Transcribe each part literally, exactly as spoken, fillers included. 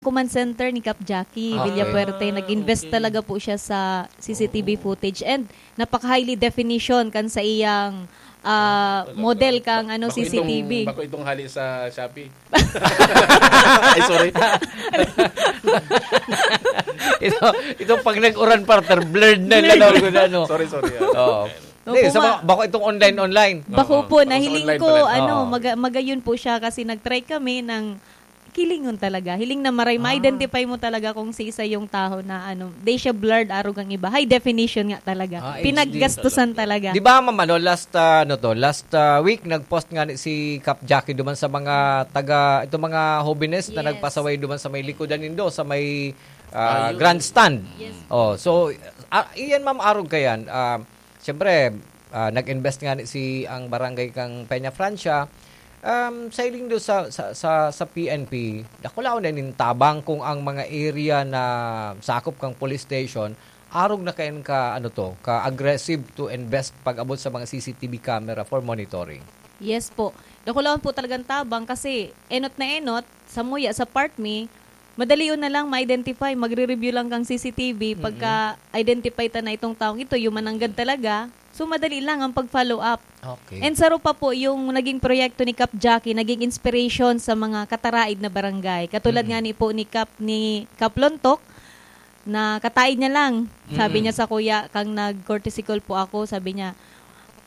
command center ni Cap Jackie Okay. Villafuerte. Ah, Nag-invest okay. talaga po siya sa C C T V Oo. footage and napaka-highly definition kan sa iyang, ah, Ah, talaga. model kang, ano, Bako itong, C C T V. bako itong hali sa Shopee. Ay, sorry. Ito, itong pag nag-uran, partner, blurred na Blurred. lalaw ko na, no? Sorry, sorry, ah. Oo. Opo, Hindi, sa ma- mga, bako itong online, online. Bako Oo. po, Bako sa nahiling online ko, pala. ano, Oo. maga-, magayon po siya kasi nag-try kami ng kilingon talaga. Hiling na maray, Ah. ma-identify mo talaga kung si isa yung taho na, ano, di siya blurred, arog ang iba. High definition nga talaga. Ah, Pinaggastusan H D talaga. talaga. Di ba, ma'am, ano, last, ah, ano to, last, ah, week, nag-post nga ni si Cap Jackie duman sa mga taga, itong mga hobenes na Yes. nagpasaway duman sa may likodan nindo, sa may, ah, Ayun. grandstand. Yes. Oh, so, ah, iyan, ma'am, arog ka yan. Ah, siyempre, ah, nag-invest nga ni si ang barangay kang Peña Francia. Um, sa hiling do sa, sa, sa, sa P N P, dakulaon na nin tabang kung ang mga area na sakop kang police station, arog na kayan ka, ano to, ka-aggressive to invest pag-abot sa mga C C T V camera for monitoring. Yes po. Dakulaon po talagang tabang kasi enot na enot, samuya sa part mi, madalion na lang ma-identify, magre-review lang kang C C T V, Mm-mm. pagka-identify ta na itong taong ito, yung mananggad talaga, so madali lang ang pag-follow up. Okay. And saro pa po yung naging proyekto ni Cap Jackie, naging inspiration sa mga kataraid na barangay. Katulad Mm-mm. nga ni po ni Cap, ni Cap Lontok, na kataid niya lang. Sabi Mm-mm. niya sa kuya, kang nag-courtesy call po ako, sabi niya,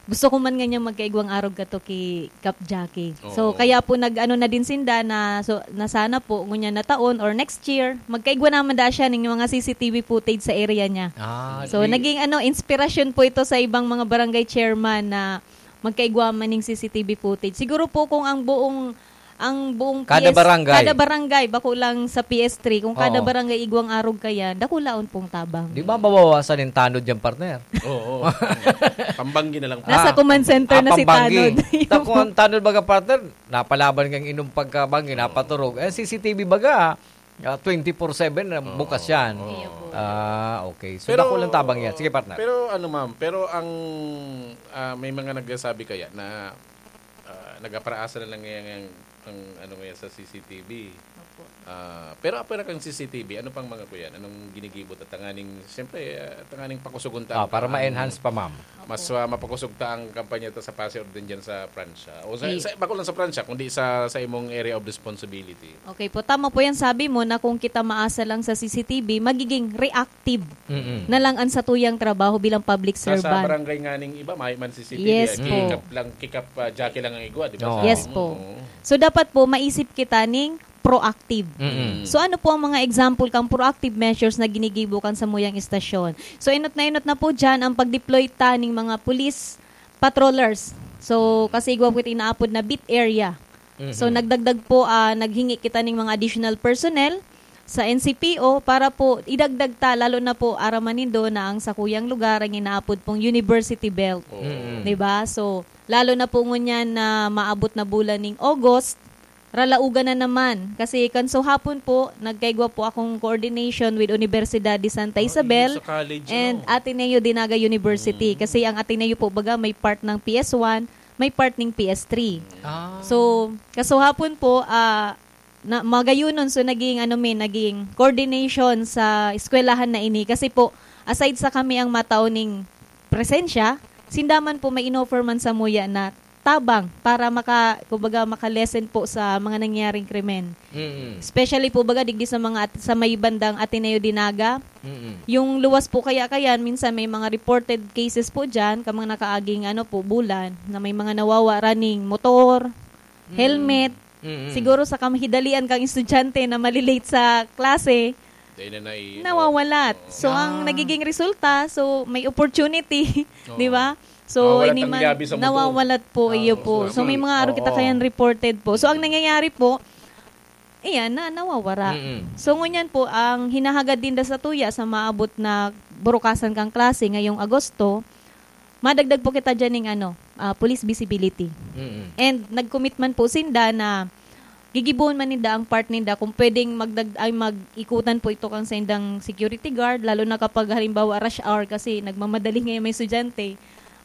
"Gusto ko man nganyan magkaigwang arog kato ki Cap Jackie." So, Oo. kaya po nag-ano na din sinda na, so, na sana po, ngunyan na taon or next year, magkaigwa naman da siya ning mga C C T V footage sa area niya. Ah, So, di- naging ano, inspirasyon po ito sa ibang mga barangay chairman na magkaigwa man ning C C T V footage. Siguro po kung ang buong, ang buong Kada P S, barangay. kada barangay, bako lang sa P S three, kung kada Oo. barangay igwang arog kayan, dakulaon pong tabang. Di ba mabawasan yung tanod dyan, partner? Oo. Pambanggi na lang po. Nasa Ah, command center ah, na si pambanggi. Tanod. Ta-, kung ang tanod baga, partner, napalaban kang inom pagkabanggi, Oo. napaturog. Eh, C C T V baga, ah, twenty-four seven na Oo, bukas yan. oo. Iyo po. Ah, okay. So, Pero, dakulaon tabang yan. Sige, partner. pero ano, ma'am, pero ang, ah, may mga nagsasabi kaya na, ah, nag-apraasa na lang ngayon ang, ang ano ngayon sa C C T V. Opo. Ah, pero apwera kang C C T V, ano pang mga kuyan? Anong ginigibo ta tanganing, siyempre, ah, tanganing pakusugon ta Ah, ang, para ang ma-enhance pa, ma'am. Opo. Mas, ah, mapakusog ta ang kampanya ta sa Pase Orden dyan sa Pransya. O sa, Ay. sa, bako lang sa Pransya, kundi sa, sa imong area of responsibility. Okay po, tama po yan. Sabi mo na kung kita maasa lang sa C C T V, magiging reactive Mm-mm. na lang ang satuyang trabaho bilang public Sa, sa servant. barangay nga ning iba, may man C C T V, Yes eh, po. kikap lang, kikap, ah, jockey lang ang igwa, di ba? Oo. Sa Yes atin, po. oo. So, dapat po, maisip kita ning proactive. Mm-mm. So, ano po ang mga example kang proactive measures na ginigibo kan samuyang istasyon? So, enot na enot na po dyan ang pag-deploy ta ning mga police patrollers. So, kasi igwa po ito inaapod na beat area. So, Mhm. nagdagdag po, ah, naghingi kita ning mga additional personnel sa N C P O para po idagdag ta, lalo na po aram man nindo na ang sakuyang lugar ang inaapod pong University Belt. Oo. Mm. Di ba? So, lalo na po ngunyan na maabot na bulan ning August, ralaugan na naman. Kasi kan so hapon po, nagkaigwa po akong coordination with Universidad de Santa Ah, Isabel sa college, and ano? Ateneo de Naga University. Mm. Kasi ang Ateneo po, baga, may part ng P S one, may part ng P S three. Ah. So, kasuhapon po, ah, na, magayunon, so naging, ano, may naging coordination sa eskwelahan na ini. Kasi po, aside sa kami ang matao ning presensya, sinda man po may inoffer man samuya na tabang para maka-, kumbaga, maka-lessen po sa mga nangyaring krimen. Mm. Especially po, baga, digdi sa mga at-, sa may bandang Ateneo de Naga, Mm. Yung luwas po kaya kayan, minsan may mga reported cases po dyan, kamang nakaaging ano po, bulan, na may mga nawawa running motor, Mm. helmet. Mm. Siguro sa kamahidalian kang estudyante na malilate sa klase, Dahil na nai-, nawawalat. oo. So, ang Ah. nagiging resulta, so, may opportunity, Oo. di ba? So, Nawawalat hindi ang man, liyabi sa motor. nawawalat po, Ah, iyo oo, po. sa So, may motor. mga aro kita Oo. kayan reported po. So, ang Mm. nangyayari po, Iyan, na nawawara. Mm-mm. So, ngunyan po, ang hinahagad din da sa tuya sa maabot na burukasan kang klase ngayong Agosto, madagdag po kita dyan ning ano, ah, police visibility. Mm-mm. And nag-commit man po sinda na gigibohon man ninda ang part ninda kung pwedeng magdag-, ay, mag-ikutan po ito kang saindang security guard, lalo na kapag halimbawa rush hour kasi nagmamadali ngayon may estudyante.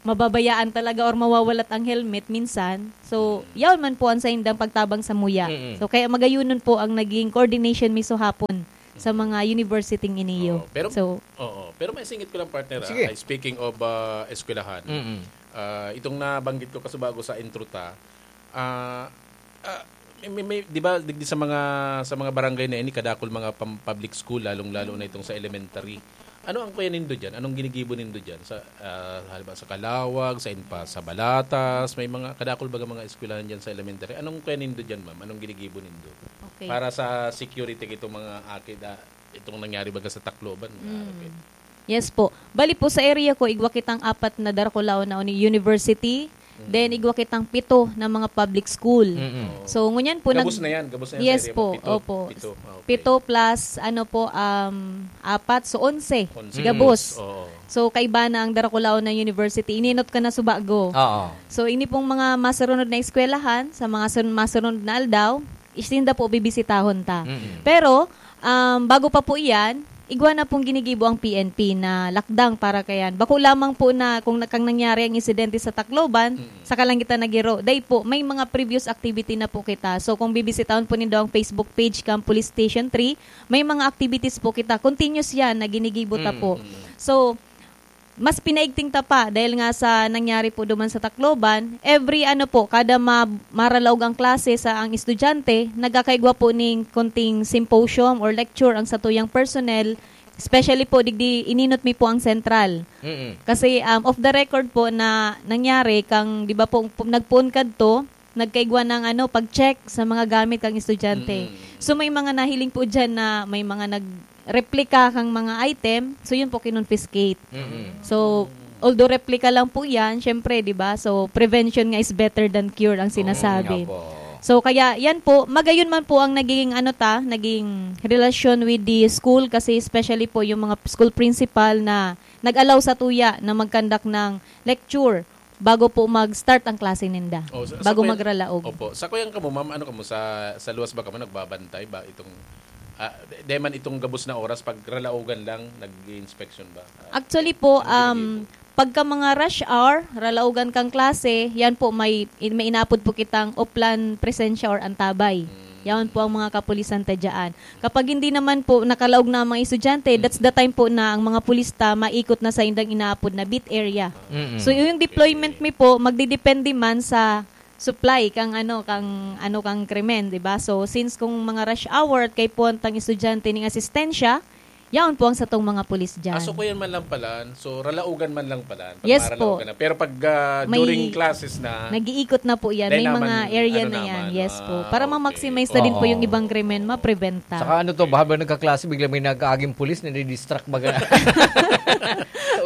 mababayaan talaga or mawawalat ang helmet minsan. So, Mm. yaon man po ang saindang pagtabang sa muya. Mm-mm. So, kaya magayunon po ang naging coordination mi so hapon sa mga university ngini. Oo, pero, So, oo, pero may singit ko lang, partner, ah. Sige. Ay, speaking of, ah, eskwelahan, Mm-mm. ah, itong nabanggit ko kasubago sa intro ta, ah, ah, may, may, may, di ba, digdi sa mga, sa mga barangay na ini, kadakol mga pam-, public school, lalong-lalo na itong sa elementary. Ano ang kuya nindo diyan? Anong ginigibo nindo diyan? Sa, ah, halimbawa, sa Calawag, sa Inpa, sa Balatas, may mga kadakol baga mga eskwelahan diyan sa elementary. Anong kuya nindo diyan, ma'am? Anong ginigibo nindo? Okay. Para sa security kitong mga aki da-, itong nangyari baga sa Tacloban, Mm. grabe. Yes po. Bali po, sa area ko, igwa kitang apat na darakulaon na uni-, university, Mm. then igwa kitang pito na mga public school. Mm-mm. So, ngunyan po, Gabos nag- na yan, gabos na yan sa Yes area mo. po, Pito, opo. pito. Ah, okay. Pito plus, ano po, um, apat, so onse. Onse. Gabos. Oo. So, kaiba na ang darakulaon na university. Ininot ka na subago. Oo. So, ini pong mga masurunod na eskwelahan, sa mga sun-, masurunod na aldaw, isinda po bibisitahon ta. Mm-mm. Pero, um, bago pa po iyan, igwa na pong ginigibo ang P N P na lakdang para kayan. Bako lamang po na kung na-, kang nangyari ang insidente sa Tacloban, Mm. saka lang kita nagiro. Dai po, may mga previous activity na po kita. So, kung bibisitahon po nindo ang Facebook page kang Police Station three, may mga activities po kita. Continuous yan na ginigibo ta Mm, po. mm. So, mas pinaigting ta pa dahil nga sa nangyari po duman sa Tacloban. Every ano po, kada ma-, maralaog ang klase sa ang estudyante, nagkakaigwa po ning konting symposium or lecture ang satuyang personnel, especially po digdi ininot mi po ang sentral. Mm-mm. Kasi, um, off the record po na nangyari kang, di ba po, pu-, nagpoon kadto, nagkaigwa ng ano, pag-check sa mga gamit kang estudyante. Mm. So, may mga nahiling po dyan na may mga nag-replika kang mga item. So, yun po, kinonfiscate. Mm. So, although replika lang po yan, syempre, di ba? So, prevention nga is better than cure ang Oo. sinasabi. Nga po. So, kaya yan po, magayon man po ang naging, ano ta, naging relasyon with the school kasi especially po yung mga school principal na nag-allow sa tuya na mag-conduct ng lecture bago po mag-start ang klase ninda, Oh, sa, sa bago kuya, magralaog. Opo. Sa kuyang kamo, ma'am, ano kamo, sa, sa luwas ba kamo nagbabantay ba itong, ah, di, di man itong gabos na oras, pag ralaogan lang, nag-i-inspection ba? Ah, Actually po, ano ginagawa um, po? pagka mga rush hour, ralaogan kang klase, yan po, may, may inapod po kitang oplan presensya or antabay. Mm. Yan po ang mga kapulisan ta dyan. Kapag hindi naman po nakalaog na ang mga estudyante, Mm. that's the time po na ang mga pulis ta maikot na sa indang inaapod na beat area. Mm-mm. So, yung deployment Okay. mi po, magdidepende man sa supply kang ano, kang ano, kang krimen, di ba? So, since kung mga rush hour at kaipuhan tang estudyante ning asistensya, yaon po ang satong mga pulis dyan. Ah, so kuyan man lang pala, so ralaugan man lang pala, pag Yes maralaugan po. na. Pero pag, ah, May during classes na, nag-iikot na po yan. May dahil naman, mga area ano na yan. naman, Yes ah, po. Para okay. ma-maximize na din po Oo. yung ibang krimen, ma-prevent ta. Saka ano to, baka ba nagkaklase, bigla may nag-aaging pulis, nadidistract baga.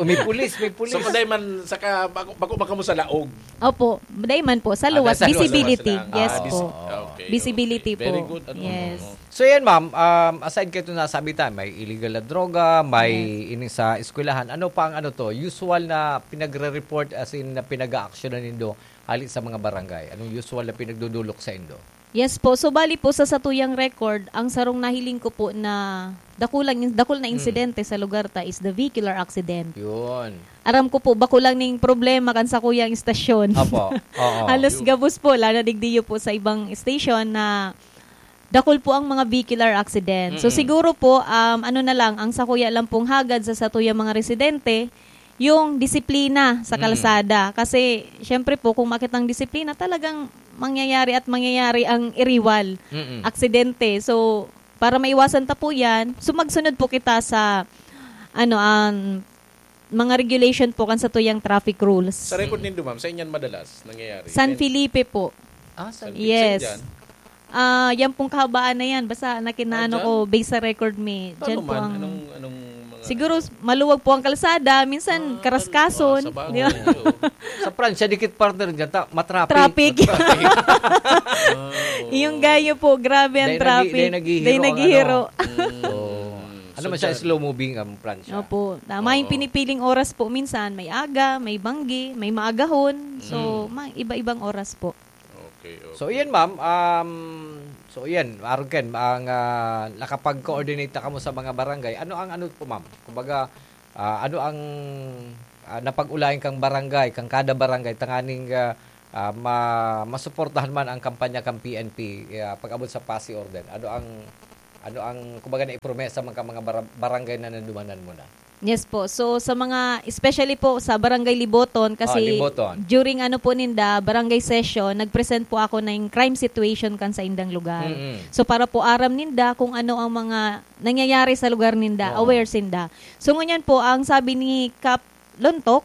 May pulis, may pulis. So, kung dahil man, saka, bako, bako, baka mo sa laog. Opo, dahil man po, sa Ah, luwas, nasa luwas, visibility. luwas lang. Yes Ah, po. vis-, okay, Visibility okay. Very po. good. Ano, Yes. ano. So, yan, ma'am, um, aside kayo nasabi ta, may illegal na droga, may Yes. ini sa eskwelahan. Ano pa ang ano to, usual na pinagre-report, as in, na pinag-aaksyonan nindo hali sa mga barangay? Anong usual na pinagdudulok sa indo? Yes po. So, bali po, sa satuyang record, ang sarong nahiling ko po na dakulang in-, dakul na Mm. insidente sa lugar ta is the vehicular accident. Yun. Aram ko po, bako lang ning problema kan sakuyang istasyon. Opo. Oo. Halos Yun. gabos po, lalo na digdiyo po sa ibang station na dakul po ang mga vehicular accident. So, Mm-mm. siguro po, um, ano na lang, ang sakuya lang pong hagad sa satuyang mga residente, yung disiplina sa Mm. kalsada. Kasi, syempre po, kung makitang disiplina, talagang mangyayari at mangyayari ang iriwal, Mm-mm. aksidente. So, para maiwasan ta po yan, so magsunod po kita sa, ano, ang mga regulation po kan satuyang traffic rules. Sa record Mm. nindo, ma'am, sa inyan madalas nangyayari? San May Felipe po. Ah, San San Felipe. Yes. Saan dyan? Ah, yan pong kahabaan na yan. Basta nakinaano Ah, dyan? ko, based sa record mi. Dyan Paano po man? ang Anong, anong mga Siguro, s-, maluwag po ang kalsada. Minsan, Ah, karaskason. tal-, ah, sa bagay, Di ba? oo. Sa Pransya, dikit partner dyan, ta-, matraffic. Traffic. Matraffic. Ah, oo. Yung gayo po, grabe ang Dahil nag-, traffic. dahil naghihiro Dahil ang naghihiro. ano. Mm. Oh. Ano So, man siya, dyan. slow moving ang Pransya. Opo. Tama yung Oo. pinipiling oras po minsan. May aga, may banggi, may maagahon. So, Mm. ma-, iba-ibang oras po. Okay, So, okay. iyan, ma'am. Um, so, iyan, arog ken, ang, ah, nakapag-coordinate na kamo sa mga barangay. Ano ang ano po, ma'am? Kumbaga, ah, ano ang ah, napag-ulayan kang barangay, kang kada barangay, tanganing, ah, ah, ma-, masuportahan man ang kampanya kang P N P, ah, pag-abot sa P A S I ordinance? Ano ang, ano ang, kumbaga, naipromesa man ka mga bara-, barangay na nadumanan mo na? Yes po. So, sa mga, especially po sa Barangay Liboton, Ah, kasi Liboton. during ano po ninda, barangay session, nag-present po ako ng crime situation kan sa indang lugar. Mm-mm. So, para po aram ninda kung ano ang mga nangyayari sa lugar ninda, Oo. aware sinda. So, ngunyan po, ang sabi ni Kap Lontok,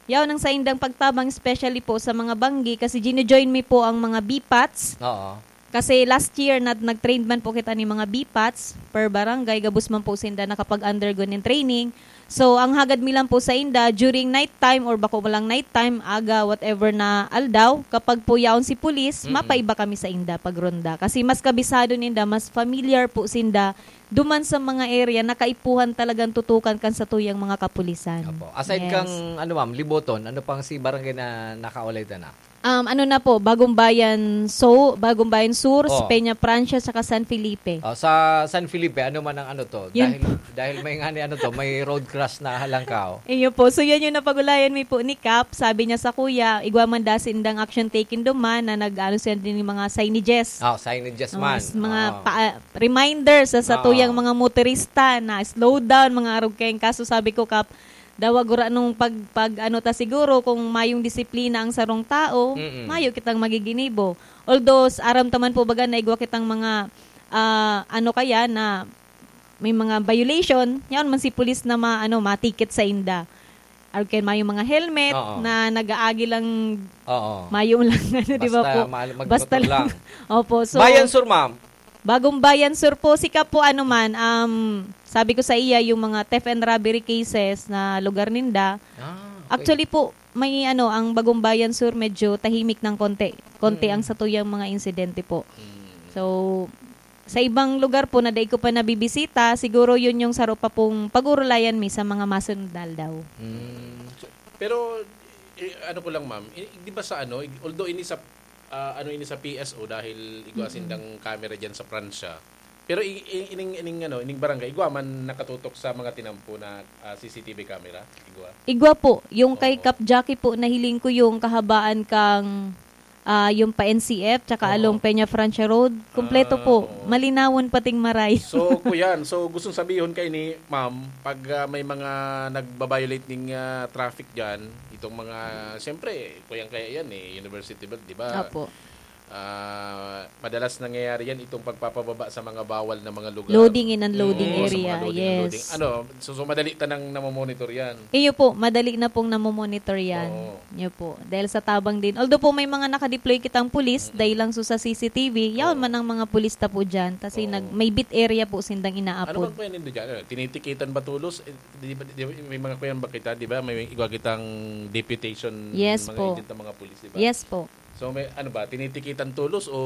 yaon ang saindang pagtabang, especially po sa mga banggi, kasi gino-join mi po ang mga B pats. Oo. Kasi last year, nag-, nag-train man po kita ni mga B pats per barangay, gabos man po sinda nakapag-undergo nin training. So, ang hagad mi lang po sa inda, during night time or bako lang night time, aga, whatever na aldaw, kapag po yaon si pulis, Mm-mm. mapaiba kami sa inda pag ronda. Kasi mas kabisado ninda, mas familiar po sinda duman sa mga area na kaipuhan talagang tutukan kan satuyang mga kapulisan. Opo. Aside Yes. kang, ano, ma'am, Liboton, ano pang si barangay na nakaulay ta na? Um, ano na po, Bagong Bayan So-, Bagong Bayan Sur, Oh. Peña Francia, saka San Felipe. Oh, sa San Felipe, ano man ang ano to? Yun Dahil, po. dahil may nga ni ano to, may road crash na halangkaw. Iyo po. So, yan yung napag-ulayan mi po ni Kap. Sabi niya sa kuya, igwa man da sindang action taken duman na nag-ano siya din yung mga signages. Oh, signages Oh, man. s-, mga Oo. pa-, reminder sa satuyang Oo. mga motorista na slow down, mga arog kayong kaso. Sabi ko, Kap, dawa gura nung pag, pag ano ta siguro, kung mayong disiplina ang sarong tao, Mm-mm. mayo kitang magiginibo. Although, s-, aram ta man po baga na igwa kitang mga, ah, ano kaya na may mga violation, yaon man si pulis na ma-, ano, matikit sa inda. Or kaya mayong mga helmet Oo. na nag-aagi lang, Oo. mayong lang, ano, di ba Basta po? ma-, magmotor Basta lang. lang. Opo, so, Bayan Sur, ma'am. Bagong Bayan Sur po, sika po, ano man, um, sabi ko sa iya, yung mga theft and robbery cases na lugar ninda, Ah, okay. actually po, may ano, ang Bagong Bayan Sur medyo tahimik ng konti. Konti Mm. ang satuyang mga insidente po. Mm. So, sa ibang lugar po na dai ko pa nabibisita, siguro yun yung saro pa pong pag-urulayan mi sa mga masunod na aldaw. Mm. So, pero, eh, ano ko lang, ma'am, i-, di ba sa ano, i-, although ini sa, ah, ano ini sa P S O dahil igwa Mm. sindang camera dyan sa Pransya, pero i-, i-, ining, ining, ano, ining barangay, igwa man nakatutok sa mga tinampo na, ah, C C T V camera? Igwa? Igwa po. Yung kay Oo. Kap Jackie po, nahiling ko yung kahabaan kang, ah, yung pa N C F, tsaka Oo. along Peña Francia Road. Kompleto Ah, po. oo. Malinawon pating maray. So, kuyan, so gustong sabihon kay ni ma'am, pag, ah, may mga nagba-violate ning, ah, traffic dyan, itong mga, siyempre, kuyang kaya yan eh, University Belt, di ba? Apo. Ah, madalas nangyayari yan, itong pagpapababa sa mga bawal na mga lugar. Loading and unloading Mm, sa mga area, loading and yes. loading. Ano, so, so madali ta nang namomonitor yan. Iyo po, madali na pong namomonitor yan. Oo. Iyo po, dahil sa tabang din. Although po may mga nakadeploy kitang pulis, Mm-mm. dahil lang so sa C C T V, yaon Oo. man ang mga pulis ta po dyan. Kasi Oo. nag-, may beat area po sindang Ano inaapod. bang kuya nindo dyan? Ano, tinitikitan ba tulos? Eh, di ba, di ba, may mga kuyan ba kita, di ba? May igwa kitang deputation, Yes mga po. agent ng mga pulis, di ba? Yes po. So, may, ano ba, tinitikitan tulos o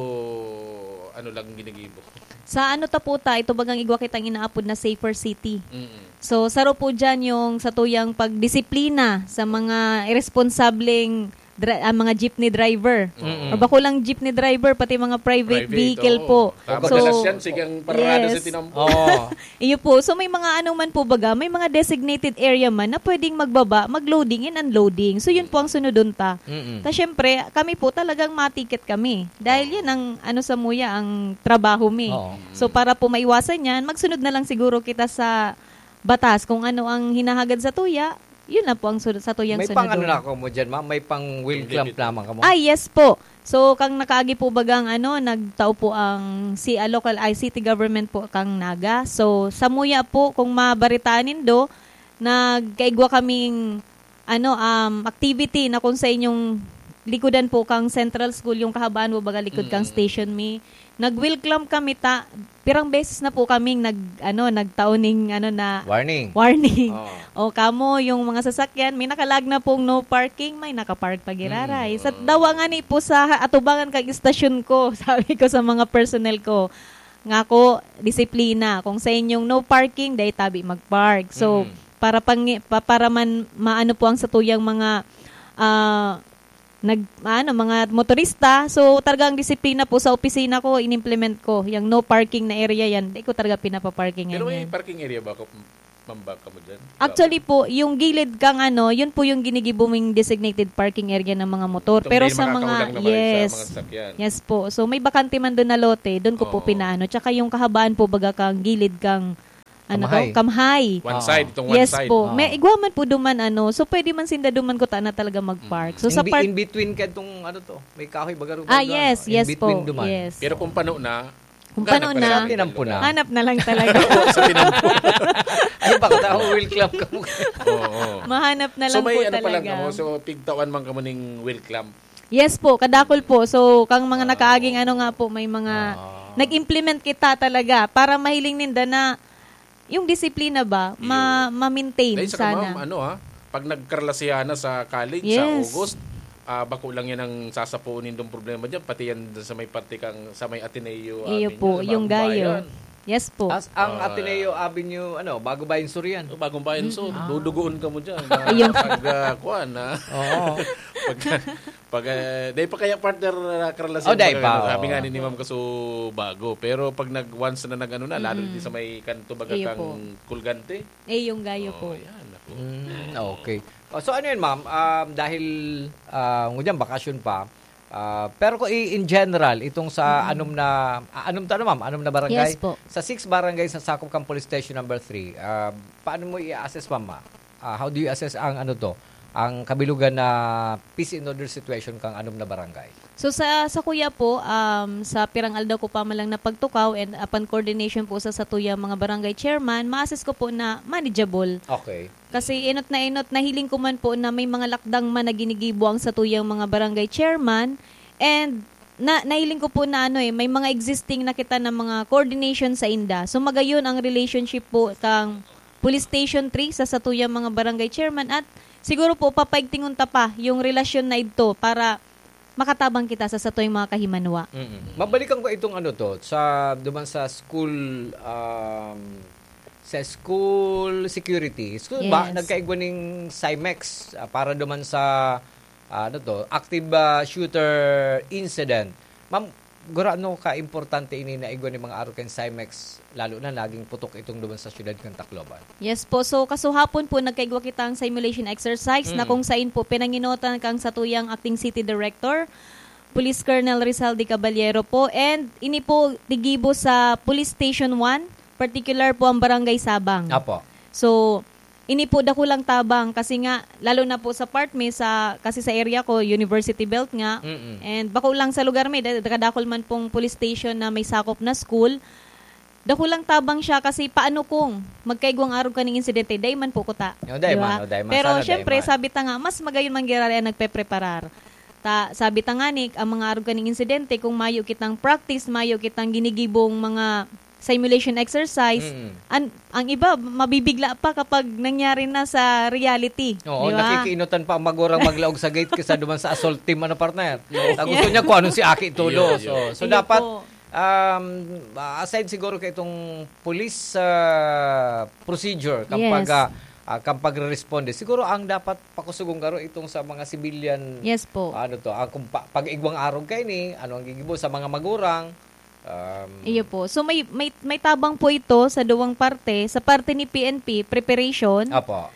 ano lang ginigibo? Sa ano ta po ta, ito bagang igwa kitang inaapod na safer city. Mm-mm. So, saro po dyan yung satuyang pagdisiplina sa mga irresponsableng dra-, ah, mga jeepney driver. Mm-mm. O bako lang jeepney driver, pati mga private Private, vehicle oo. po. Tama. So, Madalas yan, sigang parada yes. sa tinampo. Oo. Iyo po. So, may mga ano man po baga, may mga designated area man na pwedeng magbaba, mag-loading and unloading. So, yun po ang sunodon ta. Mm-mm. Ta, syempre, kami po talagang matiket kami. Dahil Oo. yan ang, ano, sa muya, ang trabaho mi. Oo. So, para po maiwasan yan, magsunod na lang siguro kita sa batas kung ano ang hinahagad sa tuya, yun na po ang sunod, sa tuyang May pang ano sunodon. na ako mo dyan, ma'am? May pang wheel Hindi, clamp dito. naman ka mo? Ah, yes po. So, kang nakaagi po bagang ano, nagtao po ang si, ah, local, ay, city government po kang Naga. So, sa muya po, kung mabaritaan nindo, nagkaigwa kaming, ano, um, activity na kung sa inyong likodan po kang Central School, yung kahabaan mo baga likod kang Mm. station mi, nag-wheel clamp kami ta, pirang beses na po kaming nag, ano, nagtao ning, ano, na Warning. warning. Oo. O, kamo, yung mga sasakyan, may nakalag na pong no parking, may nakapark pa giraray. Mm. Sa dawa nga ni po sa atubangan kang istasyon ko, sabi ko sa mga personnel ko, nga ako, disiplina. Kung sa inyong no parking, dai tabi mag-park. So, Mm. para pang-, pa-, para man maano po ang satuyang mga, ah, nag-, ano, mga motorista. So, talagang disiplina po sa opisina ko, inimplement ko. Yung no parking na area yan, di ko talaga pinapaparkingan Pero may yan. parking area ba? Kung, Ma'am, baka mo dyan? Actually po, yung gilid kang ano, yun po yung ginigibo mong designated parking area ng mga motor. Itong Pero may sa mga, makakahulang naman sa yes. mga sakyan. Yes po. So, may bakante man doon na lote, doon ko po Oo. pinaano. Tsaka yung kahabaan po, baga kang gilid kang, ano Kamhay. to? Kamhay. One Oo. side, itong one Yes side. po. Oo. May igwa man po duman, ano. So, pwede man sinda duman ko na talaga mag-park. Mm. So, In sa be-, park in between ka itong, ano to, may kahoy baga rin Ah, ba? yes, In yes po. between duman. Yes. Pero kung pano na, Kung Ganap pano na na. lang. Tinampo na. Hanap na lang talaga. Sa tinampo. Ay, baka tao, wheel clamp ka mo. Oo. Mahanap na So, lang may po ano pa lang talaga. kamo. So, pigtawan man kamo ning wheel clamp. Yes po, kadakol po. So, kang mga Ah. nakaaging ano nga po, may mga Ah. nag-implement kita talaga para mahiling ninda na yung disiplina ba, ma-, Iyo. ma-maintain Dahil sa sana. kamam, ano, ha? Pag nagkarlasihan na sa college, sa Yes. August, ah, bako lang yan ang sasapuon nindong problema dyan. Pati yan dun sa may parte kang, sa may Ateneo Iyo Avenue, po, sa yung Bagong Gayo. Bayan. Yes po. As, ang Ah. Ateneo Avenue, ano, Bago Bayan Sur yan. Oh, Bagong Bayan Sur. Mm. Ah. Dudugoon ka mo dyan. Ayun. Pag, ah, kuwan, ah. Oo. Pag, pag, ah, dahil pa kaya partner, ah, karlasan Oh, dahil pa, pa, ano, sabi oo. nga ni, ni Ma'am Kasubago. Pero pag nag, once na nag-ano na, lalo Mm. din sa may kanto baga Iyo kang po. Colgante. Eh, yung Gayo Oh, po. yan, ako. Mm, okay. Oh, so ano yun, ma'am? Um, dahil, ah, ngunyan, bakasyon pa, ah, pero kung i-, in general, itong sa Mm. anom na, ah, anom to, ano, ma'am? Anom na barangay? Yes po. Sa six barangays na sakop kang Police Station Number Three, ah, paano mo i-assess, ma'am, ma-, ah, how do you assess ang, ano to, ang kabilugan na peace and order situation kang anom na barangay? So, sa, sa kuya po, um, sa pirang aldaw ko pa man lang napagtukaw and upon coordination po sa satuyang mga barangay chairman, ma-assess ko po na manageable. Okay. Kasi inot na inot, nahiling ko man po na may mga lakdang man na ginigibo ang satuyang mga barangay chairman, and na, nahiling ko po na ano eh, may mga existing na kita na mga coordination sa inda. So magayon ang relationship po kang Police Station three sa satuyang mga barangay chairman, at siguro po papaigtingon ta pa yung relasyon na idto para makatabang kita sa satuyang mga kahimanwa. Mm-mm. Mabalikan ko itong ano to, sa, duman sa school, um, sa school security. School ba? Yes. Nagkaigwa ning Cymex, ah, para duman sa, ah, ano to, active, ah, shooter incident. Ma'am, gurano ka-importante ini na igwa ni mga arog kan Cymex, lalo na naging putok itong duman sa siyudad kan Tacloban? Yes po. So, kasuhapon po, nagkaigwa kitang simulation exercise na Mm. kung sain po pinanginotan kang satuyang acting city director, Police Colonel Rizal de Caballero po. And ini po tigibo sa Police Station one, particular po ang Barangay Sabang. Apo. So, ini po dakulang tabang kasi nga, lalo na po sa part mi, sa, kasi sa area ko, University Belt nga. Mm-mm. And bako lang sa lugar mi, da-, kadakol man pong police station na may sakop na school. Dakulang tabang siya kasi paano kung magkaigwang arog kaning insidente? Dai man po kuta. O, dai Di ba? man, o, dai man. Pero Sana dai syempre, man. sabi ta nga, mas magayon man giraray ang nagpepreparar. Ta, sabi ta nga ni, ang mga arog kaning insidente, kung mayo kitang practice, mayo kitang ginigibong mga simulation exercise, Mm. an-, ang iba, mabibigla pa kapag nangyari na sa reality. Oo, Di ba? nakikiinutan pa ang magurang maglaog sa gate kaysa duman sa assault team, ano, partner? Oo. Ah, gusto niya kung anong si Aki Tulo. Iyo, iyo. So, so Iyo dapat, po. um, aside siguro kay itong police, ah, procedure, kang Yes. pag, ah, ah, kang pagre-responde, siguro ang dapat pakusugong garo itong sa mga civilian, Yes po. ano to, ah, kung pa-, pag-igwang arog kaini, ano ang gigibo sa mga magurang, um, Iyo po. So, may, may, may tabang po ito sa duwang parte. Sa parte ni P N P, preparation. Apo.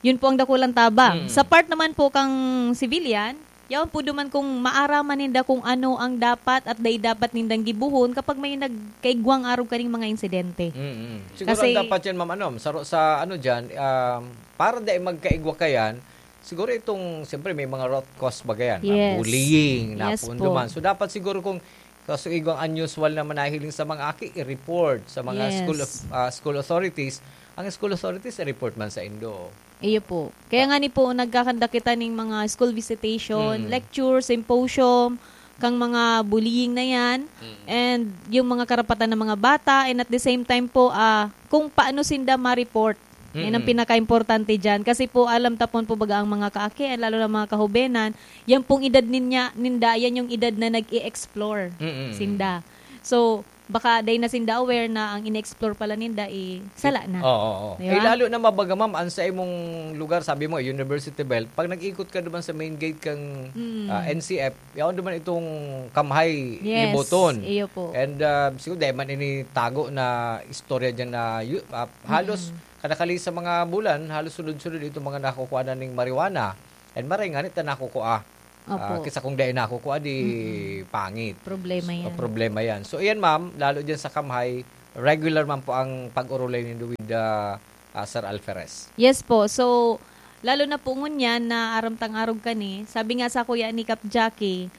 Yun po ang dakulang tabang. Mm. Sa part naman po kang civilian, yaon po duman kung maaraman ninda kung ano ang dapat at dai dapat nindang gibuhon kapag may nagkaigwang arog kaning mga insidente. Mm-mm. Siguro Kasi ang dapat yan, ma'am, ano, sa, sa ano dyan, um, para dai magkaigwa kayan, siguro itong, siyempre, may mga root cause baga yan, ma'am. Yes. Bullying, Yes napuon po. duman. So, dapat siguro kung kaso igwang unusual na manahiling sa mga aki, i-report sa mga Yes. school of, ah, school authorities. Ang school authorities, i-report man sa indo. Iyo po. Kaya nga ni po, nagkakandak kita ning mga school visitation, Mm. lecture, symposium, kang mga bullying na yan, Mm. and yung mga karapatan ng mga bata, and at the same time po, ah, kung paano sinda ma-report. Yan ang Mm. pinaka-importante dyan. Kasi po, alam tapon po baga ang mga kaaki, lalo na mga kahubenan, yan pong edad ninya, ninda, yan yung edad na nag-i-explore Mm. sinda. So, baka dai na sinda aware na ang ine-explore pala ninda, eh, sala na. Oo, oo. Di Eh, ba? lalo na mabaga, ma'am, ang sa imong lugar, sabi mo, University Belt, pag nag-ikot ka naman sa main gate kang, Mm. ah, N C F, yaon naman itong Kamhay Yes, Liboton. iyo po. And, ah, siguro, dahil man ini tago na istorya dyan na yu-, ah, halos Mm. kadakali sa mga bulan, halos sunod-sunod itong mga nakukuha na ning marijuana. And maray nga, nita nakukuha. Opo. Ah, kisa kung dai nakukuha, di Mm-mm. pangit. Problema So, yan. problema yan. So, iyan, ma'am, lalo dyan sa Kamhay, regular man po ang pag-urulay nindo with, ah, ah, Sir Alferez. Yes po. So, lalo na po ngunyan na aram tang arog kani, sabi nga sa kuya ni Kap Jackie,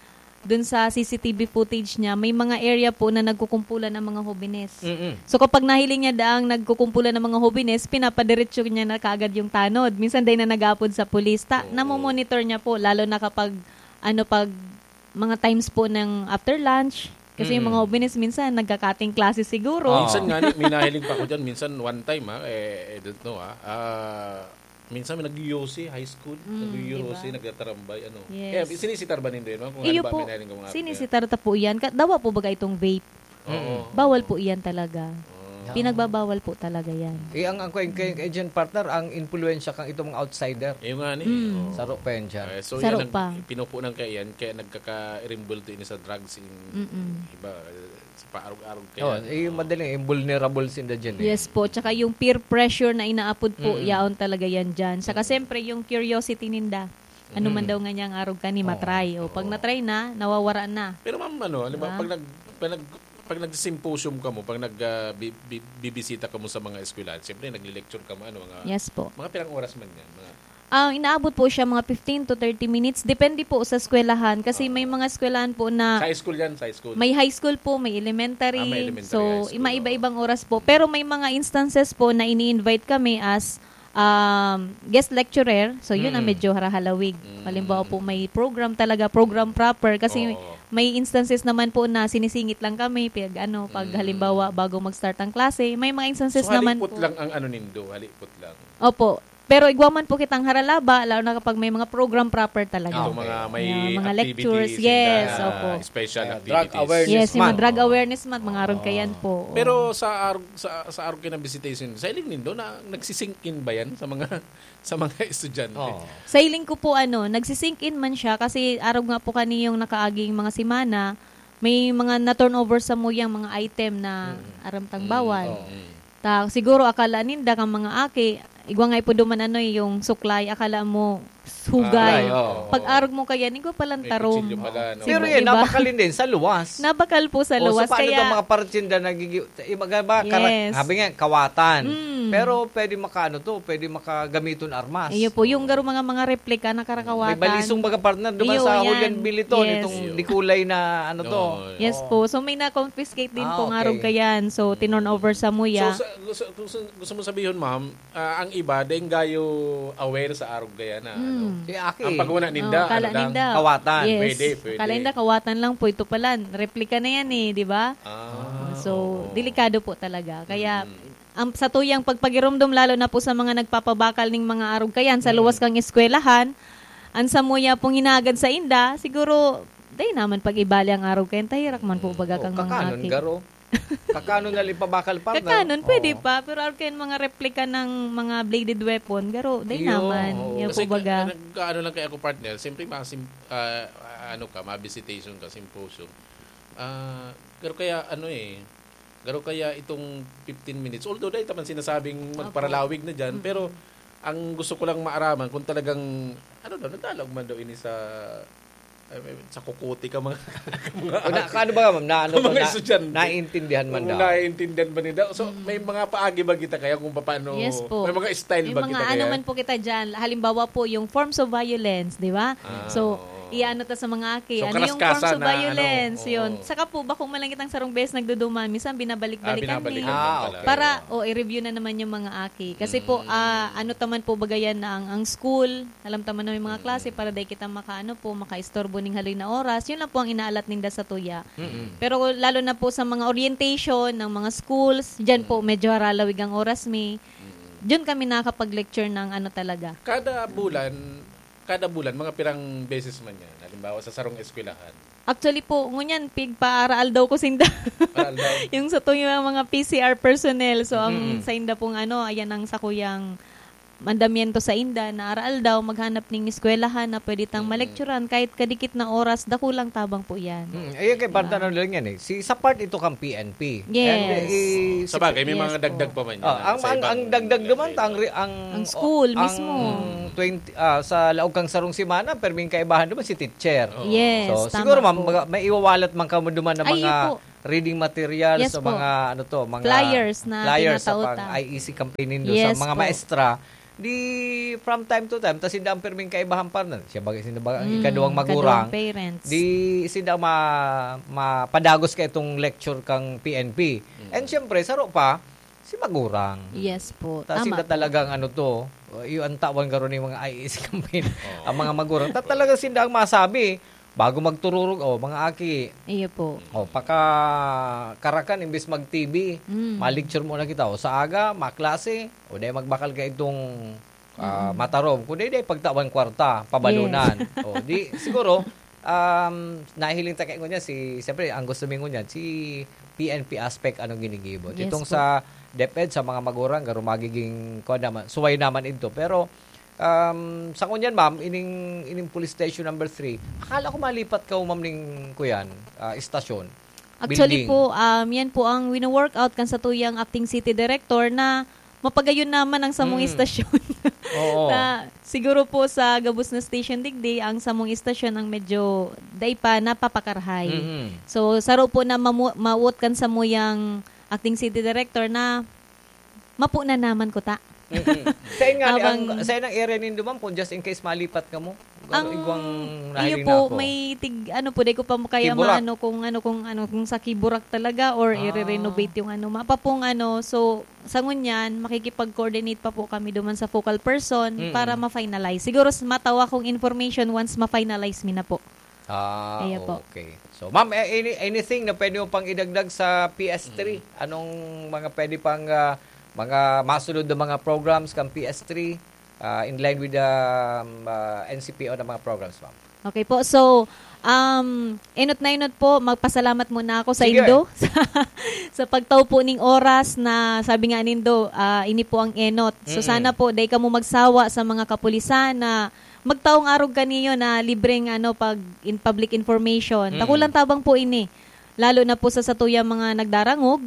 dun sa C C T V footage niya, may mga area po na nagkukumpulan ang mga hobenes. Mm-mm. So, kapag nahiling niya daang nagkukumpulan ang mga hobenes, pinapadiretso niya na kaagad yung tanod. Minsan, dai na nag-aapod sa pulis. Ta-, Oo. namomonitor niya po, lalo na kapag, ano, pag mga times po ng after lunch. Kasi yung mga Mm. hobenes, minsan, nagkakating klase siguro. Oo. Minsan nga, ni-, may nahiling pa ako dyan. Minsan, one time, ha, eh, I don't know, ha, ah, minsan may nag-U C, high school, Mm, nag-U C, diba? nagtatarambay, ano. Yes. Kaya, sinisitar ba nindo yun, ma'am? Kung Iyo halimbawa, po, may nahiling ka mga sinisitar ta po yan. Ka-, dawa po baga itong vape? Oo. Mm. Bawal po iyan talaga. Ah. Pinagbabawal po talaga yan. Eh, ang, ang, kay, kay, kay Jen, partner, ang impluwensya kang itong mga outsider. Iyo nga ni, Mm. oo. Saro pa yan dyan. Eh, so Saro yan ang pa. pinupunan kaya yan, kaya nagkakarimbulto ini sa drugs in Mm-mm. iba, eh, sa paarog-arog kaya. Oh, eh, yung Oo. madaling, yung vulnerable sinda dyan eh. Yes po, tsaka yung peer pressure na inaapod po, Mm. yaon talaga yan dyan. Saka Mm. siyempre, yung curiosity ninda. Ano man Mm. daw nga niyang arog kani, Oo. matry. O, pag Oo. natry na, nawawara na. Pero ma'am, ano, halimbawa, Diba? pag nag-, pag nag-, pag nag-symposium kamo, pag nag, ah, bi-, bi-, bibisita kamo sa mga eskwelahan, siyempre, nagle-lecture kamo, ano, mga, Yes po. mga pirang oras man yan, mga Ang inaabot po siya, mga fifteen to thirty minutes. Depende po sa eskwelahan. Kasi may Ah. mga eskwelahan po na Sa high school yan, sa high school. may high school po, may elementary. Ah, may elementary, So, high school, ima-iba-ibang oras po. Pero may mga instances po na ini-invite kami as, um, guest lecturer. So, yun ang Mm. medyo harahalawig. Mm. Halimbawa po, may program talaga, program proper. Kasi Oo. may instances naman po na sinisingit lang kami, pag, ano, pag Mm. halimbawa, bago mag-start ang klase. May mga instances So, naman halipot po. lang ang ano nindo, halipot lang. Opo. Pero igwa man po kitang haralaba, lalo na kapag may mga program proper talaga. Ah, Itong okay. mga may Yeah, mga activities, lectures, yes, ah, opo. special Ah, drug activities. awareness Yes, yung mga month. drug Oo. awareness month, mga arog Oo. kayan po. Oo. Pero sa arog, sa, sa arog kayan na visitation, sa hiling nindo, na, nagsisink in ba yan sa mga, sa mga estudyante? Oo. Sa hiling ko po, ano, nagsisink in man siya kasi arog nga po kani yung nakaaging mga semana, may mga na-turnover sa muyang mga item na Mm. aram tang Mm, bawal. oo. Mm. Ta, siguro akala ninda kan mga aki, igwa nga ipo duman ano, eh, yung suklay, akala mo hugay. Ay, oo. Pag-arog mo kaya, igwa palang May tarom. kutsilyo pala, no? Pero Di yan, ba? nabakal din sa luwas. Nabakal po sa O, so luwas, paano kaya itong mga partinda nagigi-, iba ba, kara-, Yes. sabi nga, kawatan. Mm. Pero pwede makaano to, pwede makagamiton armas. Iyo po, yung Oo. garo mga, mga replika na karakawatan. May balisong baga partner duman Iyo, sa yan. Julian Biliton, Yes. itong Iyo. dikulay na ano to. Oo. Yes Oo. po. So, may na-confiscate din Ah, po nga okay. arog kayan. So, tinorn over sa muya. So, sa, gusto, gusto, gusto mo sabihin, ma'am, ah, ang iba, daing gayo aware sa arog kaya na, ano? Mm. Si Aki. Ang paguna ninda, Oh, kala ano lang? ninda. Kawatan. Yes. Pwede, pwede. Kala ninda kawatan lang po. Ito pala, replika na yan eh, di ba? Ah, So, oo. delikado po talaga. Kaya, Mm. ang, sa tuyang pagpagiromdom, lalo na po sa mga nagpapabakal ning mga arog kayan sa Mm. luwas kang eskwelahan, ang samuya pong hinagad sa inda, siguro, dai naman pag-ibali ang arog kayan, tahirak man po Mm. baga Oh, kang mga kakanon aki. garo. Kakanon na lang ipabakal, partner. Kakanon, pwede Oo. pa, pero arog kayan mga replika ng mga bladed weapon, garo, dai Iyo, naman. oo. Yan Kasi po baga. ka-, nag-, ano lang kaya ako, partner, siyempre, masim-, ah, ano ka, ma-visitation ka, symposium. Ah, garo kaya, ano eh, garo kaya itong fifteen minutes. Although, dahil naman sinasabing Opo. magparalawig na dyan, Mm. pero ang gusto ko lang maaraman kung talagang, ano daw, nagdalag man daw ini sa, ay, may, sa kukuti ka mga, mga O, na, ate. ano ba, ma'am? Na, ano Mga ba, na, estudyante. naiintindihan man Kung daw? naiintindihan ba nila? So, Mm. may mga paagi ba kita kaya kung paano, Yes po. may mga style May ba mga kita ano kaya? man po kita dyan. Halimbawa po, yung forms of violence, di ba? Ah, So, oo. iano ta sa mga aki. So, Ano yung forms karaskasan of na, ano, violence? Yun. oo. Saka po, bako man lang kitang sarong beses nagduduman. Minsan, binabalik-balikan Ah, binabalikan ni. lang Ah, pala. okay. Para, o, i-review na naman yung mga aki. Kasi po, Mm. ah, ano taman po bagayan na ang, ang school, alam taman na may mga Mm. klase para dai kita makaano po, makaistorbo ning haloy na oras. Yun lang po ang inaalat ninda sa tuya. Mm. Pero lalo na po sa mga orientation ng mga schools, dyan po Mm. medyo haralawig ang oras mi. Mm. Dyan kami nakakapag-lecture ng ano talaga. Kada bulan, kada bulan, mga pirang beses man yan. Halimbawa, sa sarong eskwelahan. Actually po, ngunyan, pigpa-araal daw ko sinda. Araal daw. Yung sa tuyo yung mga P C R personnel. So, ang Mm-mm. sa inda pong ano, ayan ang sa kuyang mandamiento sa inda, na araal daw, maghanap ning eskwelahan na pwede tang Mm-mm. malekturan kahit kadikit na oras, dakulang tabang po yan. Mm, ayun kay Diba? Barta na lang yan eh. Si, sa part ito kang P N P. Yes. And, eh, Sa bagay, may Yes mga po. dagdag pa man yan, Ah, ano, ang, sa ang, ibang ang dagdag naman, level. ang re-, ang, Ang school ang mismo. twenty, ah, sa laog kang sarong semana, pero may kaibahan naman si teacher. Oo. Yes, So, tama siguro, ma'am, po. maga-, may iwawalat man kamo duman ng Ay, mga yun po. reading materials, Yes sa po. mga, ano to, mga Flyers na flyers sa tinatao pang ta. I E C campaign nindo, sa Yes mga po. maestra. Di, from time to time, tas sinda ang pirming kaibahan pa na. Siya bagay, sinda bagay, ang Mm, ikaduwang magurang. ikaduwang parents. Di, sinda ma-, mapadagos ka itong lecture kang P N P. Mm. And siyempre, saro pa, si magurang. Yes po, Ta tama sinda po. talagang ano to, yung ang tawan garo ni mga I E C campaign, Oo. ang mga magurang. Ta talaga sinda ang masabi, bago magtururog, oh, mga aki. Iyo po. Oh, paka karakan, imbis mag-T V, Mm. ma-lecture muna kita. O sa aga, maklase, o dahil magbakal ka itong, ah, Mm. matarom. Kung dahil, dahil pagtawan kwarta, pabalunan. Yes. Oh, di, siguro, um, nahiling ta kayo niya, si, siyempre, ang gusto mo niyan, si P N P aspect, anong ginigibo. Yes Itong po. sa DepEd, sa mga magurang, garo magiging, kuwan naman, suway naman ito. Pero, um, sa ngunyan, ma'am, ining, ining police station number three, akala ko malipat ka, ma'am, ning, kuyan, ah, istasyon. Actually Building. po, um, yan po ang wino-workout kan sa tuyang acting city director na mapagayon naman ang samong Mm. istasyon. Oo. Na siguro po sa gabos na station digdi, ang samong istasyon ang medyo dai pa napapakarhay. Mm-mm. So, saro po na mamu-, mawot kan samuyang acting city director na mapo na naman ko ta. Mm-mm. Sa inyo nga, Habang ang, sa inang area nindo, ma'am, kung just in case malipat ka mo, Ang, igwang iyo nahiling po, na ako. may tig-, ano po, di ko pa kaya Kiburak. maano kung ano, kung ano, kung sa Kiburak talaga or Ah. i-renovate yung ano, mapa pong ano. So, sa ngunyan, makikipag-coordinate pa po kami duman sa focal person Mm. para ma-finalize. Siguro s-, matawa kong information once ma-finalize mi na po. Ah, Ayan po. okay. So, ma'am, eh, any-, anything na pwede mo pang idagdag sa P S three? Mm. Anong mga pwede pang, ah, mga masunod na mga programs kang P S three, ah, in line with the, um, ah, N C P O na mga programs, ma'am? Okay po. So, um, enot na enot po, magpasalamat muna ako sa Sige. indo sa, sa pagtao po ning oras na sabi nga nindo, ah, ini po ang enot. So, Mm. sana po, dai kamo magsawa sa mga kapulisan na magtaong arog kaniyo na libreng, ano, pag in public information. Mm. Dakulang tabang po ini, lalo na po sa satuyang mga nagdarangog.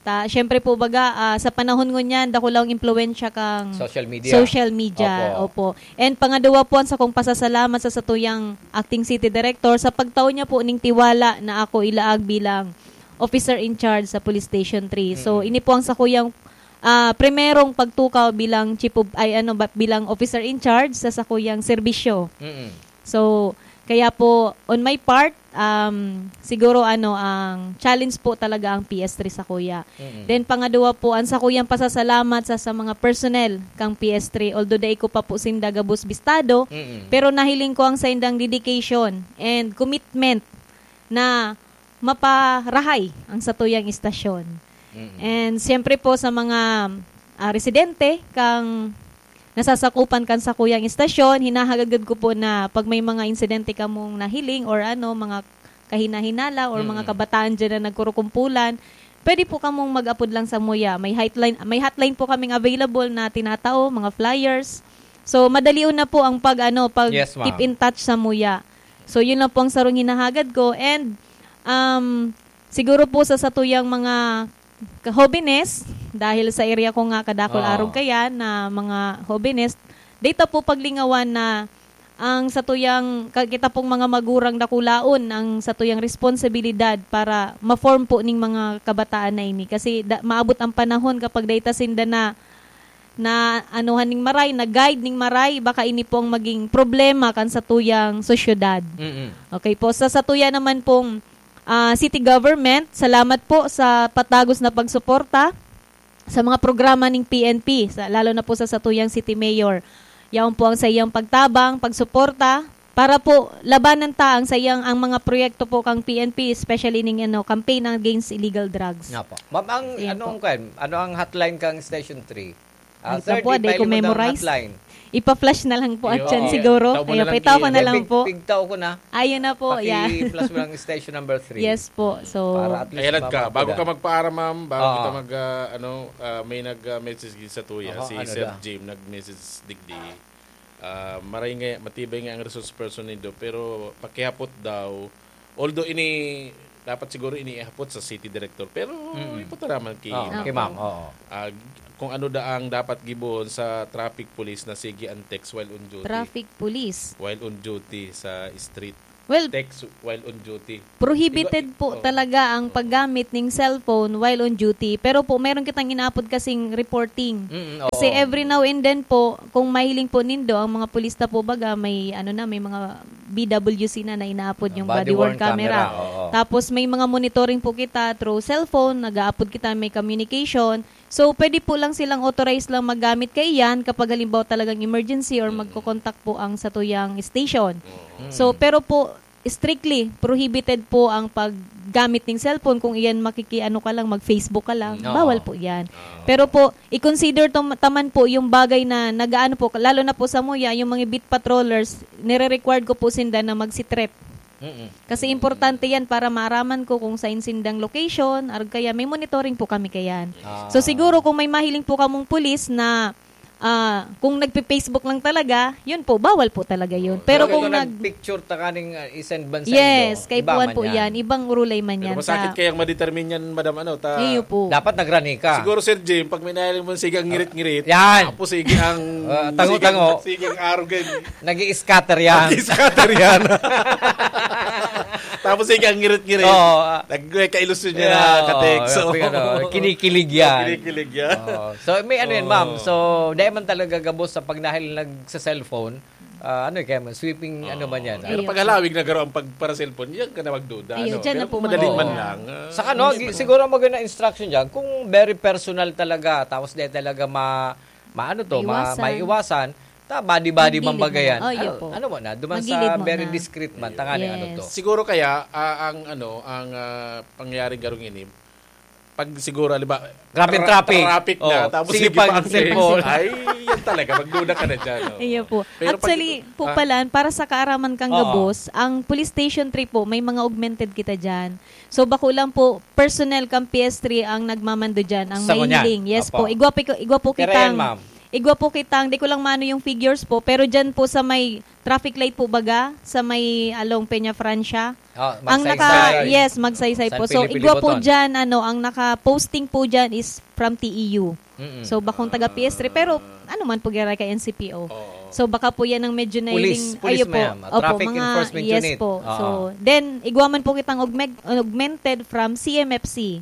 Ta, syempre po, baga, ah, sa panahon ngunyan, dakulang impluwensya kang Social media. social media. Opo. Opo. And pangaduwa po, ang sakong pasasalamat sa satuyang acting city director sa pagtao niya po ning tiwala na ako ilaag bilang officer in charge sa Police Station three. So, Mm. ini po ang sakuyang, ah, primerong pagtukaw bilang chief of, ay, ano ba, bilang officer in charge sa sakuyang serbisyo. Mm. So, kaya po, on my part, um, siguro, ano, ang challenge po talaga ang P S three sa kuya. Mm. Then, pangaduwa po, ang sakuyang pasasalamat sa, sa mga personnel kang P S three. Although dai ko pa po sinda gabos bistado, Mm. pero nahiling ko ang saindang dedication and commitment na maparahay ang satuyang istasyon. Mm. And siyempre po sa mga, ah, residente kang nasasakupan kan sakuyang istasyon, hinahagad ko po na pag may mga insidente kamong nahiling or ano, mga kahinahinala or mga Mm. kabataan dyan na nagkurukumpulan, pwede po kamong mag-apod lang sa muya. May hotline, may hotline po kaming available na tinatao, mga flyers. So, madalion na po ang pag, ano, pag Yes, ma'am. keep in touch sa muya. So, yun lang po ang sarong hinahagad ko. And, um, siguro po sa satuyang mga ka-, hobenes, dahil sa area ko nga kadakol Oo. arog kaya na mga hobenes, data po paglingawan na ang satuyang, ka-, kita pong mga magurang dakulaon ang satuyang responsibilidad para ma-form po ning mga kabataan na ini. Kasi da-, maabot ang panahon kapag data sinda na, na anuhan ning maray, na guide ning maray, baka ini po ang maging problema kan satuyang sosyedad. Mm-mm. Okay po. Sa satuya naman pong, ah, city government, salamat po sa patagos na pagsuporta sa mga programa ning P N P, sa, lalo na po sa satuyang city mayor. Yaon po ang sa iyang pagtabang, pagsuporta, para po labanan ta ang sa iyang, ang mga proyekto po kang P N P, especially ning, ano, campaign against illegal drugs. Nga po. Ma'am, ang Ayan anong, po. kwan, ano ang hotline kang Station three? Ah, Ay, sir, naku, di di ko pa ilimot ang memorize. hotline. Ipa-flash na lang po at Iyo, yan oo. siguro. Tao mo Ayun, na lang pitaw ko na lang Pig-, po. pigtaw ko na. Ayun na po, yeah. Paki-flash mo lang station number three. Yes po. So, Para at least Ayan ka, ma-, bago ma-, ka magpaaram, ma'am, bago Oo. kita mag, ah, ano, ah, may nag, ah, message din sa tuya, Aha, si ano Sir daw? Jim, nag-message digdi. Ah, maray nga, matibay nga ang resource person nindo, pero pakihapot daw. Although ini, dapat siguro iniihapot sa city director, pero Mm. ipot na naman ki Oo, ma'am. kay ma'am, oo. Ah, kung ano da ang dapat gibohon sa traffic police na sige ang text while on duty. Traffic police. While on duty sa street. Well, Text while on duty. prohibited Iba- po oo. talaga ang Oo. paggamit ng cellphone while on duty. Pero po, meron kitang inaapod kasing reporting. Mm, Kasi oo. every now and then po, kung mahiling po nindo, ang mga pulis na po baga, may ano na, may mga B W C na, na inaapod Ang yung body body worn worn camera. camera, oo. Tapos may mga monitoring po kita through cellphone, nag-aapod kita, may communication. So, pwede po lang silang authorized lang maggamit kaiyan kapag halimbawa talagang emergency or Mm. magko-contact po ang satuyang station. Mm. So, pero po, strictly prohibited po ang paggamit ng cellphone kung iyan makiki-, ano ka lang, mag-Facebook ka lang. Mm, oo. Bawal po yan. Oo. Pero po, i-consider to, taman po yung bagay na nag-aano po, lalo na po sa muya, yung mga beat patrollers, nire-required ko po sinda na magsitrep. Mm-mm. Kasi importante yan para maaraman ko kung saan sindang location, arog kaya may monitoring po kami kayan. Ah. So siguro kung may mahiling po kamong pulis na, ah, kung nagpe-Facebook lang talaga, yun po, bawal po talaga yun. Oo. Pero Pero kung kung nag- nag-picture ta kaning, ah, i-send ban sa Yes, indo, kay iba Puan man po yan. yan. Ibang urulay man Pero yan. masakit Ta- kayang ma-determine yan, madam, ano, ta- Iyo po. Dapat nagrani ka. Siguro, Sir Jim, pag may nahiling mo, sige ang ngirit-ngirit. Yan. Tapos sige ang, Ah, tango-tango. sige ang, sige ang arogan. Nag-i-scatter yan. Nag-i-scatter yan. Tapos sige ang ngirit-ngirit. Oo, ah. Nagkailusyon niya Yeah, na ka-text. oo, So, yung ano, kinikilig yan. Kinikilig yan. Oo. So, may ano yan, ma'am. Oo. So, dahil man talaga gabos sa pagnahiling sa cellphone, ah, ano eh, kaya mo, sweeping, ano man yan, Pero Ayun. pag halawig na garo ang pagpara-cellphone, yan ka na magduda, Ayun, ano? dyan na Pero po kung madali magduda. man lang, ah, Saka, no, Yes, gi-, ma'am. siguro ang magandang instruction dyan, kung very personal talaga, tapos di talaga ma-, maano to, ma-, Maiwasan. maiwasan, ta, body-body Magilid man bagayan. na. Oh, iyo Ano, po. ano mo na, duman Magilid sa mo very na. discreet man, tangali, ano to. Yes. Siguro kaya, ah, ang ano, ang, ah, pangyayari garong ini, pag siguro, halimbawa, Grabe tra-, traffic. traffic na, Oh, tapos sige sige pang pa ang cellphone. cellphone. Ay, yan talaga, magduda ka na dyan, oh. Iyo po. Pero pag Actually, ito, po ah, pala, para sa kaaraman kang Oo. gabos, ang Police Station three po, may mga augmented kita dyan. So, bako lang po, personnel kang P S three ang nagmamando dyan, ang Sa ngunyan. mahiling. Yes Apo. po. Igwa, pi-, igwa po Pero yan, kitang, ma'am. igwa po kitang, di ko lang mano yung figures po, pero dyan po sa may traffic light po baga, sa may along Peña Francia. Ah, Ang naka, Magsaysay. yes, Magsaysay San po. So, Felipe igwa po Liboton. dyan, ano, ang naka-posting po dyan is from T E U. Mm-mm. So, bakong taga P S three, pero ano man po gira kay N C P O. Oo. So, baka po yan ang medyo Pulis, nailing-, pulis, ayo po. ma'am. Opo, Traffic mga, Enforcement yes Unit. po. Oo. So, then, igwa man po kitang augmeg-, augmented from C M F C.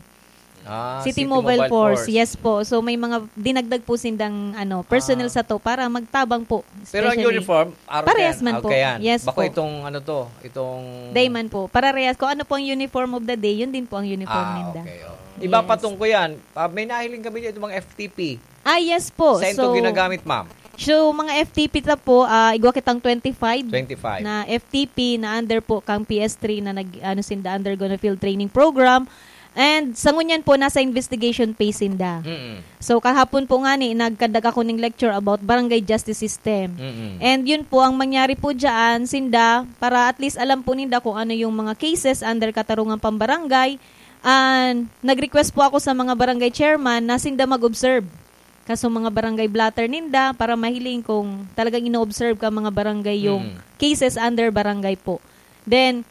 Ah, City City Mobile Mobile Force. Force. Yes po. So, may mga dinagdag po sindang, ano, personal Ah. sa to para magtabang po. Pero ang Especially uniform, araw Parehas yan. man po. Okay yan. Yes Bako po. itong, ano to, itong Day man po. Parehas. Kung ano po ang uniform of the day, yun din po ang uniform Ah, ninda. okay, oh. Iba pa Yes. tong ko yan. Ah, may nahiling kami dito, mga F T P. Ah, yes po. Saan to So, ginagamit, ma'am? so, mga F T P ta po, ah, igwa kitang twenty-five Twenty-five. na F T P na under po kang P S three na nag, ano, sinda undergo na field training program. And sa ngunyan po, nasa investigation phase sinda. Mm-mm. So, kahapon po nga ni, nagkandak ako ng lecture about barangay justice system. Mm-mm. And yun po, ang mangyari po dyan, sinda, para at least alam po ninda kung ano yung mga cases under katarungang pambarangay. And nag-request po ako sa mga barangay chairman na sinda mag-observe. Kaso mga barangay blotter ninda, para mahiling kung talagang ino-observe ka mga barangay yung Mm. cases under barangay po. Then,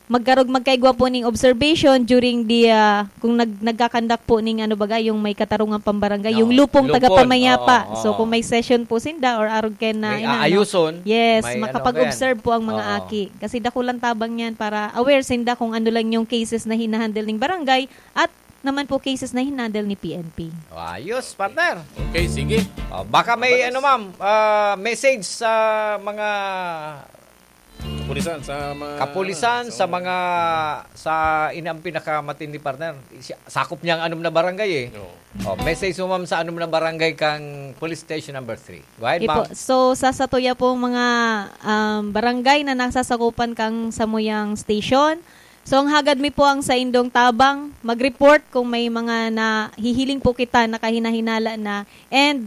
magkarog-, magkaigwa po ning observation during the, ah, kung nag-, nagkakandak po ning ano baga, yung may katarungang pambarangay, yung Oo, lupong lupon. tagapamayapa. Oo, So, oo. kung may session po sinda or arog kayo na May inaano, aayuson, yes, may ano makapag-observe kayan. po ang mga Oo. aki. Kasi dakulang tabang yan para aware sinda kung ano lang yung cases na hinahandle ning barangay at naman po cases na hinandle ni P N P. Ayos, partner. Okay, sige. Oh, baka may, Mabalas. ano, ma'am, ah, message sa mga Kapulisan, sa mga, kapulisan, ano, sa sa mga, sa, ini ang pinakamatindi, partner. Siya, sakop niya ang anom na barangay, eh. Oo. Oh, message mo, ma'am, sa anom na barangay kang police station number three. Go ahead, Okay po. ma'am. So, sa satuya po mga, um, barangay na nasasakupan kang samuyang station, so, ang hagad mi po ang saindong tabang, mag-report kung may mga nahihiling po kita na kahinahinala na, and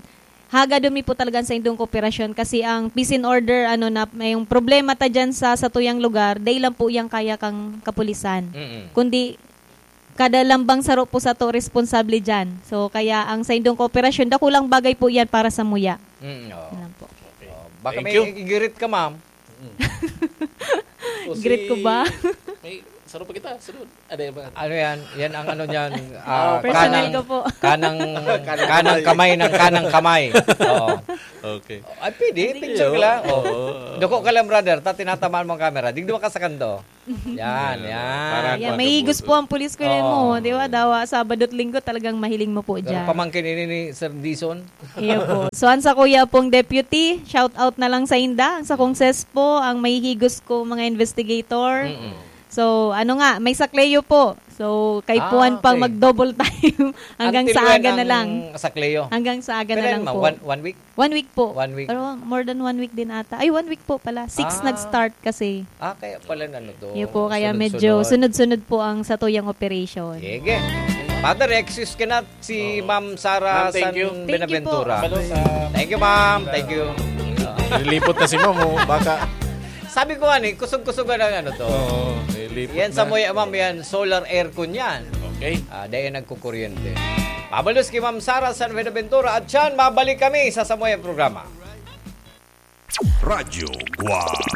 Hagadon mi po talaga sa indong kooperasyon kasi ang peace and order, ano na, may yung problema ta dyan sa, sa tuyang lugar, dahil lang po yang kaya kang kapulisan. Mm-mm. Kundi, kada lambang saro po sa to responsable dyan. So, kaya ang sa indong kooperasyon, dakulang bagay po yan para sa muya. Mm, oo. Yan lang po. Okay. Oh, baka Thank may you. Igirit ka, ma'am. Greet ko ba? May, saro pa kita, sunod. Ano yan ba? Ano yan? Yan ang ano niyan. ah, Personal kanang, ko po. Kanang, kanang kamay ng kanang kamay. Oo. Okay. Ay, pwede. Hindi, Picture ka oo. lang. Oh. Oo. Dako ka lang, brother. Ta, tinatamaan mo ang camera. Digdi mo ka sa kanto. Yan, yan. Yeah, may higos po ang police ko rin mo. Di ba? Dawa, Sabado at Linggo talagang mahiling mo po Pero dyan. Pamangkin ini ni Sir Dison. Iyo po. So, ang sa kuya pong deputy, shout out na lang sa inda. Ang sa kong ses po, ang mahihigos ko mga investigator. Mm-mm. So, ano nga, may sakleo po. So, kaipuhan Ah, pang okay. Mag-double time hanggang Until sa when aga na ang lang. Sakleo? Hanggang sa aga Pero na yan, lang ma- po. One, one week? One week po. One week. Pero more than one week din ata. Ay, one week po pala. Six Ah. nag-start kasi. Ah, kaya pala ano to. Iyo po, kaya Sunod-sunod. Medyo sunod-sunod po ang sa tuyang operation. Sige. Father, excuse ka na si Ma'am Sara Ma'am, thank San you. Thank you Buenaventura. po. Kabalo sa Thank you, ma'am. Thank you. Nilipot na si ma'am, oh. Baka Sabi ko nga ni, kusog-kusog na ng ano to. Oo, nilipot Yan sa na. Muya, ma'am, yan, solar aircon yan. Okay. Ah, dahil nagkukuryente. Pabalos kay Ma'am Sara San Buenaventura at siyan, mabalik kami sa Samoya programa. Radyo Guam.